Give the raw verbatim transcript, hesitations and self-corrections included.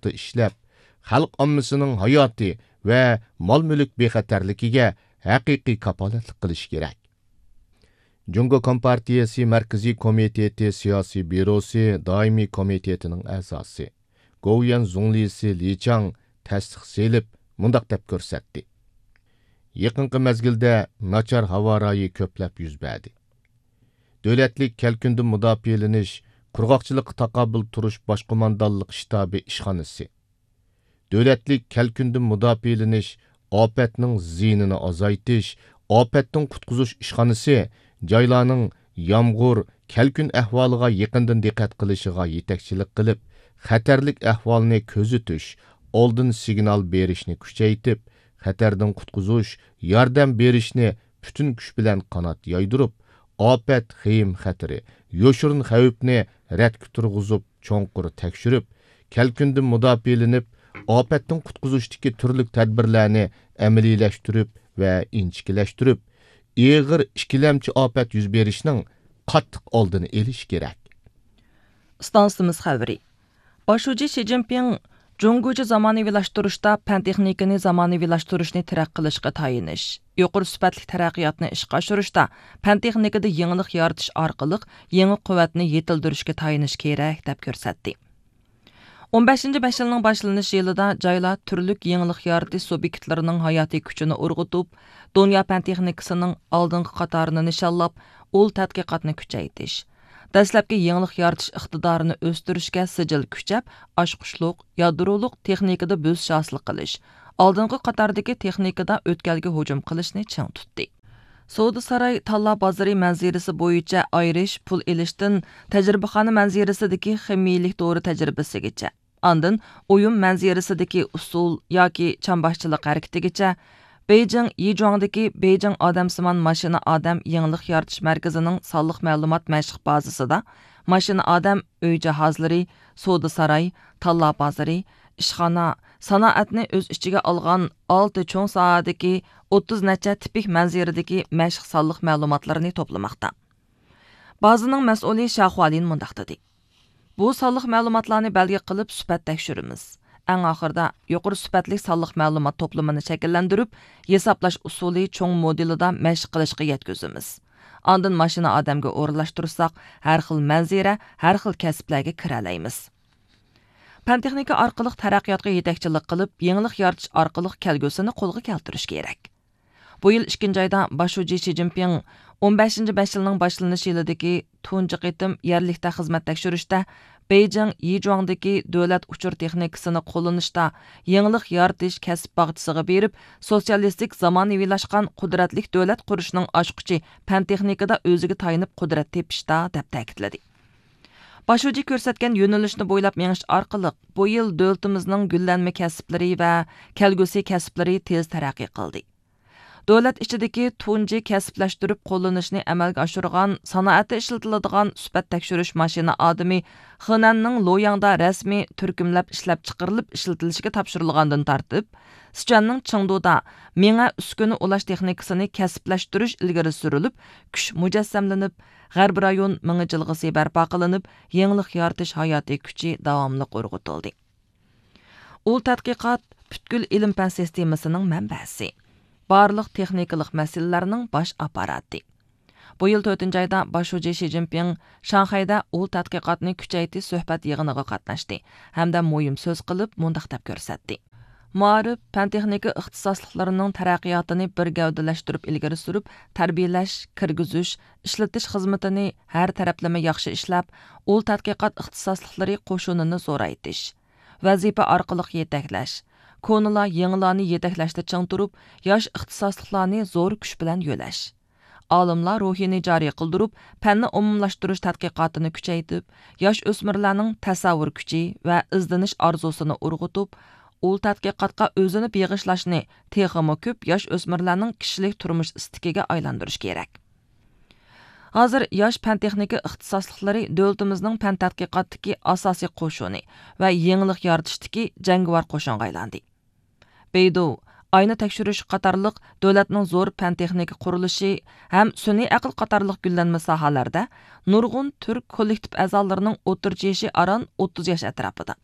پۇختا ئىشلەپ، خەلق ئاممىسىنىڭ ھاياتى ۋە مال-مۈلۈك بىخەتەرلىكىگە ھەقىقىي كاپالەتلىك قىلىشى كېرەك. جۇڭگو كومپارتىيەسى مەركىزىي كومىتېتى سىياسىي بيۇروسى دائىمىي كومىتېتىنىڭ ئەزاسى، گوۋۇيۈەن زۇڭلىسى لى چاڭ تەستىق سېلىپ، مۇنداق دەپ كۆرسەتتى: يېقىنقى مەزگىلدە ناچار ھاۋا رايى كۆپلەپ يۈز بەردى. دۆلەتلىك كەلكۈندىن مۇداپىئەلىنىش، قۇرغاقچىلىققا تاقابىل تۇرۇش باش قوماندانلىق شتابى ئىشخانىسى، دۆلەتلىك كەلكۈندىن مۇداپىئەلىنىش، ئاپەتنىڭ زىيىنىنى ئازايتىش، ئاپەتتىن قۇتقۇزۇش ئىشخانىسى جايلارنىڭ يامغۇر، كەلكۈن ئەھۋالىغا يېقىندىن دىققەت قىلىشىغا يېتەكچىلىك قىلىپ، خەتەرلىك ئەھۋالنى كۆزىتىش، ئالدىن سىگنال بېرىشنى كۈچەيتىپ، خەتەردىن قۇتقۇزۇش، ياردەم بېرىشنى پۈتۈن كۈچ بىلەن قانات يايدۇرۇپ، ئاپەت خېيىم خەتىرى، يوشۇرۇن خەۋپنى رەتكە تۇرغۇزۇپ، چوڭقۇر تەكشۈرۈپ، كەلكۈندىن مۇداپىئەلىنىپ، ئاپەتتىن قۇتقۇزۇشتىكى تۈرلۈك تەدبىرلەرنى ئەمەلىيلەشتۈرۈپ ۋە ئىنچىكىلەشتۈرۈپ، ئېغىر ئىككىلەمچى ئاپەت يۈز بېرىشنىڭ قاتتىق ئالدىنى ئېلىش كېرەك. ئىستانسىمىز خەۋىرى. باش شۇجى شى جىنپىڭ جۇڭگوچە زامانىۋىلاشتۇرۇشتا پەن تېخنىكىنى زامانىۋىلاشتۇرۇشنى تىرەك قىلىشقا تايىنىش، يۇقىرى سۈپەتلىك تەرەققىياتنى ئىشقا ئاشۇرۇشتا پەن تېخنىكىدا يېڭىلىق يارىتىش ئارقىلىق يېڭى قۇۋۋەتنى يېتىلدۈرۈشكە تايىنىش كېرەك، دەپ كۆرسەتتى. ئون بەشىنچى بەش يىلنىڭ باشلىنىش يىلىدا جايلار تۈرلۈك يېڭىلىق يارىتىش سۇبيېكتلىرىنىڭ ھاياتىي كۈچىنى ئۇرغۇتۇپ، دۇنيا پەن تېخنىكىسىنىڭ ئالدىنقى قاتارىنى نىشانلاپ، ئۇل تەتقىقاتنى كۈچەيتىش، دەسلەپكى يېڭىلىق يارىتىش ئىقتىدارىنى ئۆستۈرۈشكە سىجىل كۈچەپ، ئاچقۇچلۇق، يادرولۇق تېخنىكىدا بۆسۈش ھاسىل قىلىش، ئالدىنقى قاتاردىكى تېخنىكىدا ئۆتكەلگە ھۇجۇم قىلىشنى چىڭ تۇتتى. سودا ساراي تاللا بازىرى مەنزىرىسى بويىچە ئايرىش، پۇل ئېلىشتىن تەجرىبىخانا مەنزىرىسىدىكى خىمىيىلىك دورا تەجرىبىسىگىچە، ئاندىن ئويۇن مەنزىرىسىدىكى ئۇسسۇل ياكى چامباشچىلىق ھەرىكىتىگىچە، بېيجىڭ يىجۇاڭدىكى بېيجىڭ ئادەمسىمان ماشىنا ئادەم يېڭىلىق يارىتىش مەركىزىنىڭ سانلىق مەلۇمات مەشىق بازىسىدا ماشىنا ئادەم، ئۆي جاھازلىرى، سودا ساراي، تاللا بازىرى، ئىشخانا، سانائەتنى ئۆز ئىچىگە ئالغان ئالتە چوڭ ساھەدىكى ئوتتۇز نەچچە تىپىك مەنزىرىدىكى مەشىق سانلىق مەلۇماتلىرىنى توپلىماقتا. بازىنىڭ مەسئۇلى شيا خۇالىن مۇنداق دېدى: بۇ سانلىق مەلۇماتلارنى بەلگە قىلىپ سۈپەت تەكشۈرىمىز. ئەڭ ئاخىرىدا يۇقىرى سۈپەتلىك سانلىق مەلۇمات توپلىمىنى شەكىللەندۈرۈپ، ھېسابلاش ئۇسۇلى چوڭ مودېلىدا مەشىق قىلىشقا يەتكۈزىمىز. ئاندىن ماشىنا ئادەمگە ئورۇنلاشتۇرساق، ھەر خىل مەنزىرە، ھەر خىل كەسىپلەرگە كىرەلەيمىز. پەن تېخنىكا ئارقىلىق تەرەققىياتقا يېتەكچىلىك قىلىپ، يېڭىلىق يارىتىش ئارقىلىق كەلگۈسىنى قولغا كەلتۈرۈش كېرەك. بۇ يىل ئىككىنچى ئايدا باش شۇجى شى جىنپىڭ ئون بەشىنچى بەش يىلنىڭ باشلىنىش يىلىدىكى تۇنجى قېتىم يەرلىكتە خىزمەت تەكشۈرۈشتە، بېيجىڭ يىجۇاڭدىكى دۆلەت ئۇچۇر تېخنىكىسىنى قوللىنىشتا يېڭىلىق يارىتىش كەسىپ باغچىسىغا بېرىپ، سوتسىيالىستىك زامانىۋىلاشقان قۇدرەتلىك دۆلەت قۇرۇشنىڭ ئاچقۇچى پەن تېخنىكىدا ئۆزىگە تايىنىپ قۇدرەت تېپىشتا، دەپ تەكىتلىدى. باش شۇجى كۆرسەتكەن يۆنىلىشنى بويلاپ مېڭىش ئارقىلىق، بۇ يىل دۆلىتىمىزنىڭ گۈللەنمە كەسىپلىرى ۋە كەلگۈسى كەسىپلىرى تېز تەرەققىي قىلدى. دۆلەت ئىچىدىكى تۇنجى كەسىپلەشتۈرۈپ قوللىنىشنى ئەمەلگە ئاشۇرغان سانائەتتە ئىشلىتىلىدىغان سۈپەت تەكشۈرۈش ماشىنا ئادىمى خېنەننىڭ لوياڭدا رەسمىي تۈركۈملەپ ئىشلەپچىقىرىلىپ ئىشلىتىلىشكە تاپشۇرۇلغاندىن تارتىپ، سىچۈەننىڭ چېڭدۇدا مېڭە ئۈسكۈنە ئۇلاش تېخنىكىسىنى كەسىپلەشتۈرۈش ئىلگىرى سۈرۈلۈپ، كۈچ مۇجەسسەملىنىپ، غەربىي رايون مېڭە جىلغىسى بەرپا قىلىنىپ، يېڭىلىق يارىتىش ھاياتىي كۈچى داۋاملىق ئۇرغۇتۇلدى. ئۇل تەتقىقات پۈتكۈل ئىلىم-پەن سىستېمىسىنىڭ مەنبەسى، بارلىق تېخنىكىلىق مەسىلىلەرنىڭ باش ئاپپاراتى. بۇ يىل تۆتىنچى ئايدا باش شۇجى شى جىنپىڭ شاڭخەيدە ئۇل تەتقىقاتنى كۈچەيتىش سۆھبەت يىغىنىغا قاتناشتى ھەمدە مۇھىم سۆز قىلىپ مۇنداق دەپ كۆرسەتتى: مائارىپ، پەن-تېخنىكا ئىختىساسلىقلىرىنىڭ تەرەققىياتىنى بىر گەۋدىلەشتۈرۈپ ئىلگىرى سۈرۈپ، تەربىيەلەش، كىرگۈزۈش، ئىشلىتىش خىزمىتىنى ھەر تەرەپلىمە ياخشى ئىشلەپ، ئۇل تەتقىقات ئىختىساسلىقلىرى قوشۇنىنى زورايتىش، ۋەزىپە ئارقىلىق يېتەكلەش، كونىلار يېڭىلارنى يېتەكلەشتە چىڭ تۇرۇپ، ياش ئىختىساسلىقلارنى زور كۈچ بىلەن يۆلەش، ئالىملار روھىنى جارى قىلدۇرۇپ، پەننى ئومۇملاشتۇرۇش تەتقىقاتىنى كۈچەيتىپ، ياش ئۆسمۈرلەرنىڭ تەسەۋۋۇر كۈچى ۋە ئىزدىنىش ئارزۇسىنى ئۇرغۇتۇپ، ئۇل تەتقىقاتقا ئۆزىنى بېغىشلاشنى تېخىمۇ كۆپ ياش ئۆسمۈرلەرنىڭ كىشىلىك تۇرمۇش ئىستىكىگە ئايلاندۇرۇش كېرەك. ھازىر ياش پەن-تېخنىكا ئىختىساسلىقلىرى دۆلىتىمىزنىڭ پەن تەتقىقاتتىكى ئاساسىي قوشۇنى ۋە يېڭىلىق يارىتىشتىكى جەڭگىۋار قوشۇنغا ئايلاندى. بېيدۇ، ئاينى تەكشۈرۈش قاتارلىق دۆلەتنىڭ زور پەن-تېخنىكا قۇرۇلۇشى ھەم سۈنئىي ئەقىل قاتارلىق گۈللەنمە ساھەلەردە نۇرغۇن تۈرك كوللېكتىپ ئەزالىرىنىڭ ئوتتۇرىچە يېشى ئاران ئوتتۇز ياش ئەتراپىدا.